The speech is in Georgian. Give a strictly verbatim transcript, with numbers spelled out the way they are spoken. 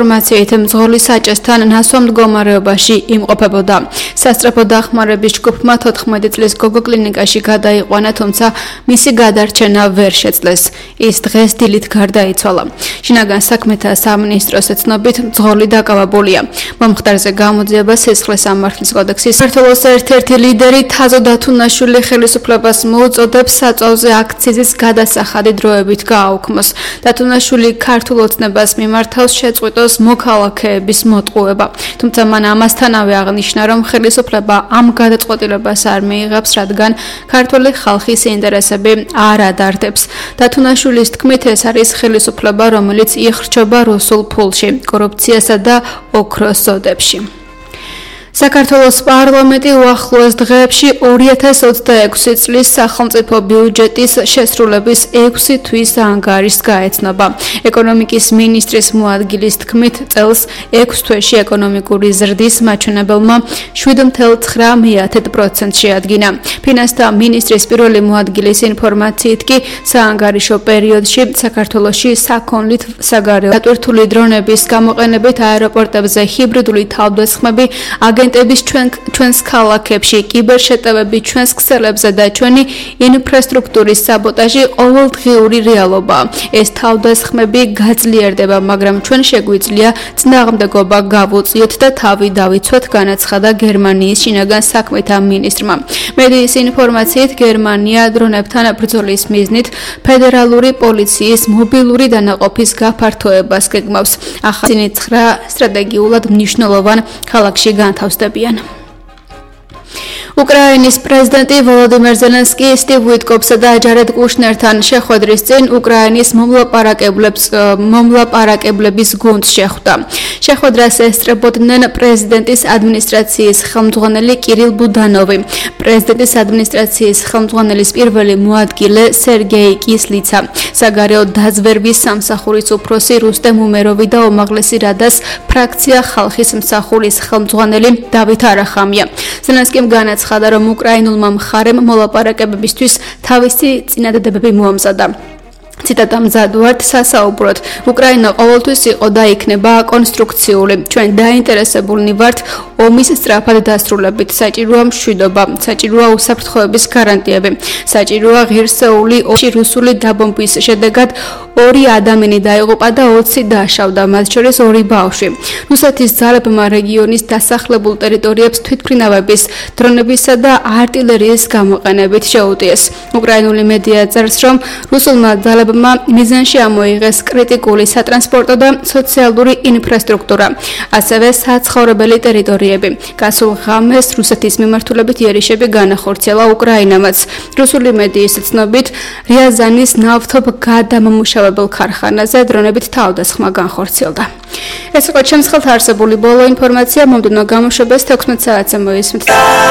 ინფორმაციით მძღოლი საჭესთან ნასვამ მდგომარეობაში იმყოფებოდა. სასწრაფო დახმარების ჯგუფმა თოთხმეტი წლის გოგო კლინიკაში გადაიყვანა, თუმცა მისი გადარჩენა ვერ შეძლეს. ის დღეს დილით გარდაიცვალა. შინაგან საქმეთა სამინისტროს ცნობით მძღოლი დაკავებულია. მომხდარზე გამოძიება სისხლის სამართლის კოდექსის საქართველოს ერთ-ერთი ლიდერი თაზო დათუნაშვილი ხელისუფლებას მოუწოდებს საწვავზე აქციზის გადასახადი დროებით გააუქმოს. დათუნაშვილი ქართულ ოცნებას მიმართავს შეწყვიტოს მოქალაქეების მოტყუება. თუმცა მან ამასთანავე აღნიშნა, რომ ხელისუფლება ამ გადაწყვეტილებას არ მიიღებს, რადგან ქართული ხალხის ინტერესები არ ადარდებს. დათუნაშვილის თქმით, ეს არის ხელისუფლება, რომელიც იხრჩობა რუსულ ფულში, კორუფციასა და ოქროს ზოდებში. საქართველოს პარლამენტი უახლოეს დღეებში ორი ათას ოცდაექვსი წლის სახელმწიფო ბიუჯეტის შესრულების ექვსი თვის ანგარიშს გაეცნობა. ეკონომიკის მინისტრის მოადგილის თქმით, წელს ექვს თვეში ეკონომიკური ზრდის მაჩვენებელმა შვიდ ათეულ ცხრა პროცენტს შეადგინა. ფინანსთა მინისტრის პირველი მოადგილის ინფორმაციით კი საანგარიშო პერიოდში საქართველოში საქონლით საგარეო დატვირთული დრონების გამოყენებით აეროპორტებზე ჰიბრიდული თავდასხმები აგენტების ჩვენ ჩვენს ქალაქებში, კიბერშეტევები ჩვენს ქსელებზე და ჩვენი ინფრასტრუქტურის საბოტაჟი ყოველდღიური რეალობაა. ეს თავდასხმები გაძლიერდება, მაგრამ ჩვენ შეგვიძლია წინააღმდეგობა გავუწიოთ და თავი დავიცვათ, განაცხადა გერმანიის შინაგან საქმეთა მინისტრმა. მედიის ინფორმაციით, გერმანია დრონებთან ბრძოლის მიზნით ფედერალური პოლიციის მობილური დანაყოფის გაფართოებას გეგმავს. ახალი ცხრა სტრატეგიულად მნიშვნელოვან ქალაქში განთავსდებიან. უკრაინის პრეზიდენტი ვოლოდიმირ ზელენსკი სტივ ვიტკოფსა და ჯარედ კუშნერთან შეხვედრის წინ უკრაინის მომლაპარაკებლებს მომლაპარაკებლების გუნდს შეხვდა. შეხვედრას ესწრებოდნენ პრეზიდენტის ადმინისტრაციის ხელმძღვანელი კირილ ბუდანოვი, პრეზიდენტის ადმინისტრაციის ხელმძღვანელის პირველი მოადგილე სერგეი კისლიცა, საგარეო დაზვერვის სამსახურის უფროსი რუსტემ უმეროვი და უმაღლესი რადას ფრაქცია ხალხის მსახურის ხელმძღვანელი დავით არახამია. ზელენსკიმ განაცხადა, რომ უკრაინულმა მხარემ მოლაპარაკებებისთვის თავისი წინადადებები მოამზადა. ციტატა მზად ვართ სასაუბროდ. უკრაინა ყოველთვის იყო და იქნება კონსტრუქციული. ჩვენ დაინტერესებულნი ვართ ომის სწრაფად დასრულებით. საჭიროა მშვიდობა, საჭიროა უსაფრთხოების გარანტიები, საჭიროა ღირსეული ომში რუსული დაბომბვის შედეგად ორი ადამიანი დაიღუპა და ოცი დააშავდა, მათ შორის ორი ბავშვი. რუსეთის ძალებმა რეგიონის დასახლებულ ტერიტორიებს თვითმფრინავების, დრონებისა და არტილერიის გამოყენებით შეუტიეს. უკრაინული მედია წერს, რომ რუსულმა ძალებმა მიზანში ამოიღეს კრიტიკული სატრანსპორტო და სოციალური ინფრასტრუქტურა, ასევე საცხოვრებელი ტერიტორიები. გასულ ღამეს რუსეთის მიმართულებით იერიშები განახორციელა უკრაინამაც. რუსული მედიის ცნობით, რიაზანის ნავთობგადამამუშავებელ ქარხანაზე დრონებით თავდასხმა განხორციელდა. ეს იყო ჩემს ხელთ არსებული ბოლო ინფორმაცია, მომდევნო გამოშვებას თექვსმეტ საათზე მოისმით.